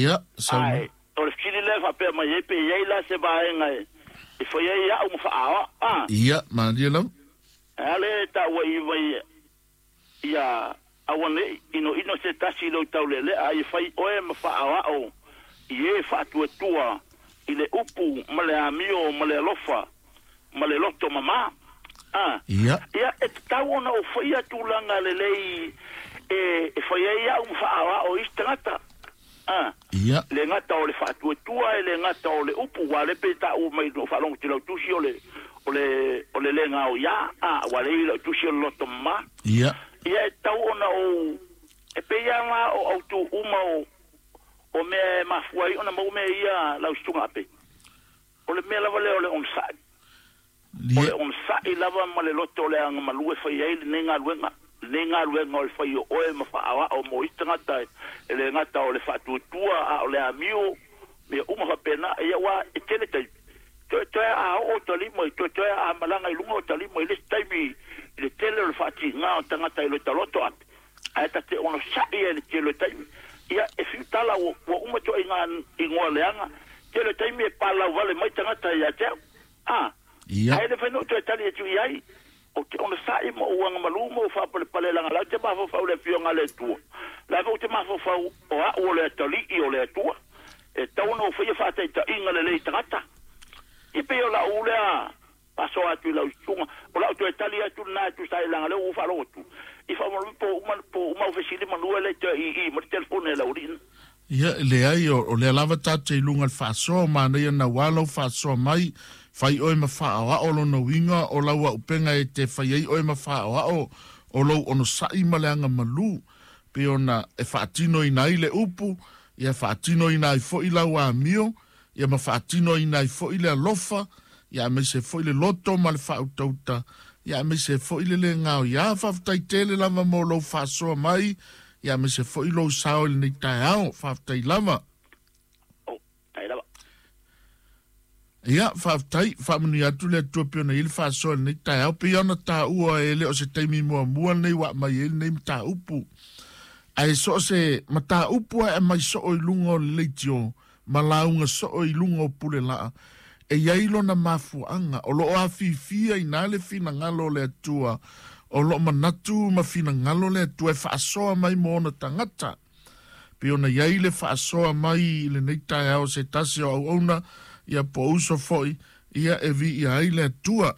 Ia, saunoa. Ae, o le fesili lea e faapea mai ai pe i ai la se vaega e fai ai au ma faaoa, a? Ia, malie lava. Ae a lea e taua i mai ia aua ne i inoino se tasi i lou taulealea, a ia fai oe ma faaoao i e faatuatua i le upu ma le amio ma le alofa ma le loto mamā. A, Ia. ia, e tatau ona ou faia tulaga lelei e fai ai au ma faaoao i isi tagata. A, Ia. le gata o le faatuatua, e le gata o le upu, ua le pe taua mai no faalogo atu i lau tusi o le o le o le le gaoiā, a, ua le i lau tusi o le loto mamā. Ia. Ia e tatau ona ou e pei lava la o autu uma o mea e mafua ai ona maua mea ia lau susuga ape. O le mea lava lea o le onosai. O le onosai lava ma le loto o le agamalu e fai ai lenei galuega. Lenei galuega o le fai o oe ma faaoao mo isi tagata e le gata o le faatuatua a o le amio, mea uma faapena. Ia aua e tele taimi, toetoe a oo ota lima, toetoe a malaga i luga ota lima i le isi taimi i le tele o le faatiga o tagata i lota loto ape. Ae ta te onosai ai i le tele o taimi. Ia, e fiu tala ua uma ituaiga igoa leaga, tele o taimi e palau vale mai tagata ia te au. A, Ia. ae le mafai ona ou toe tali atu i ai. Ou te onosai ma ou agamalu ma ou faapalepale leaga o la ou te mafaufau i le Afioga a le Atua. O la foi ou te mafaufau o au o le atalii o le Atua. E tatau ona ou faia faataitaiga lelei i tagata. Ia pei o lau lea faasoa atu i lau susuga. O lau toe tali atu lena e tusa ai leaga o lea ua ou faalogo atu i faamolemole po o uma po o uma au fesili manu e le i toe ii mai le telefoni a le aualii. Ia, e leai, o lea lava tatou te i luga i le faasoa, o manaia naua lau faasoa mai, fai oe ma faaoao lona uiga o lau auupega e te fai ai oe ma faaoao o lou onosai ma le agamalu, pei ona e faatinoina ai le upu, ia faatinoina ai foi lau amio, ia ma faatinoina ai foi le alofa, ia aemaise foi le loto ma le faautauta, ia aemaise foi le le gaoiā. Faafetai tele lava mo lou faasoa mai, ia aemaise foi lou sao i lenei taeao. Faafetai lava. Oh, tai lava. Ia, faafetai, faamanuia atu le Atua pei ona i ai le faasoa i lenei taeao. Pei ona taua e le o se taimi muamua lenei ua aumai ai lenei mataupu. Ae so o se mataupu lava e aumai soo i luga o le leitio, ma lauga soo i luga o pulelaa, e i ai lona mafuaaga, o lo o afifia ina le finagalo o le Atua, o lo o manatu ma finagalo le Atua e faasoa mai mo ona tagata. Pei ona i ai le faasoa mai i lenei taeao se tasi o auauna, ia po o uso foi, ia e viia ai le Atua.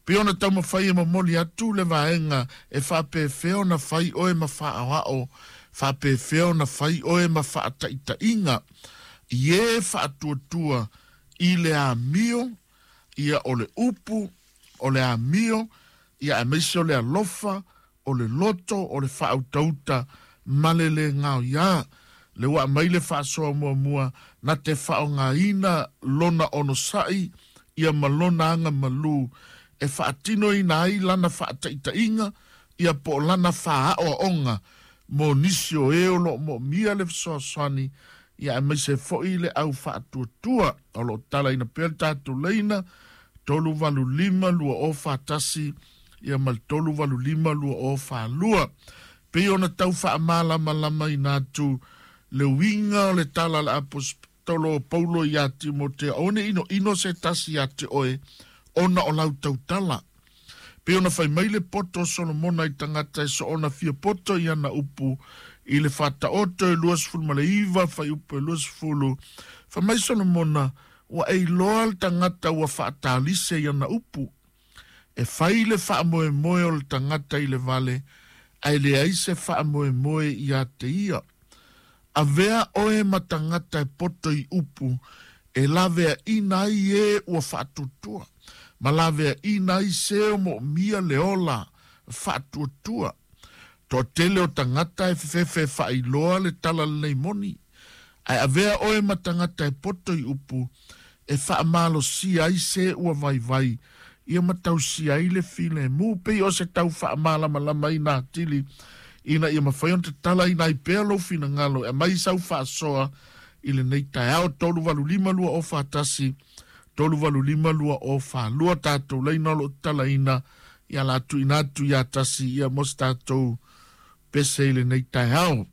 Pei ona taumafai e momoli atu le vaega e faapefea ona fai oe ma faaoao, faapefea ona fai oe ma faataitaiga i e faatuatua i le amio, ia o le upu, o le amio, ia aemaise o le alofa, o le loto, o le faautauta ma le le gaoiā. Le ua aumai le faasoa muamua na te faaaogaina lona onosai ia ma lona aga malū e faatinoina ai lana faataitaiga ia po o lana faaaoaoga mo nisi o e o lo o moomia le fesoasoani ia aemaise foi le au faatuatua. O lo o talaina pea le tatou laina 385 2041 ia ma le 385 2042. Pei ona tau faamalamalamaina atu le uiga o le tala a le Aposetolo o Paulo iā Timotea, aua ne i inoino se tasi iā te oe ona o lau tautala. Pei ona fai mai le poto o Solomona i tagata e soona fia poto i ana upu i le Faataoto e 29 fuaiupu e 20, fai mai Solomona, Ua e iloa le tagata ua faatalise i ana upu. E fai le faamoemoe o le tagata i le vale, ae leai se faamoemoe ia te ia. Avea oe ma tagata e poto i upu e laveaina ai e ua faatuatua, ma laveaina ai se o moomia le ola faatuatua. Toatele o tagata e fefefe e faailoa le tala lenei moni, ae avea oe ma tagata e poto i upu e faamalosia ai se ua vaivai ia ma tausia ai le filemu. Pei o se tau faamalamalamaina atili ina ia mafai ona tatalaina ai pea lou finagalo e aumai sau faasoa i lenei taeao 385 2041 385 2042 tatou laina o lo o tatalaina ia la tuuina atu ia tasi ia mo se tatou pese i lenei taeao.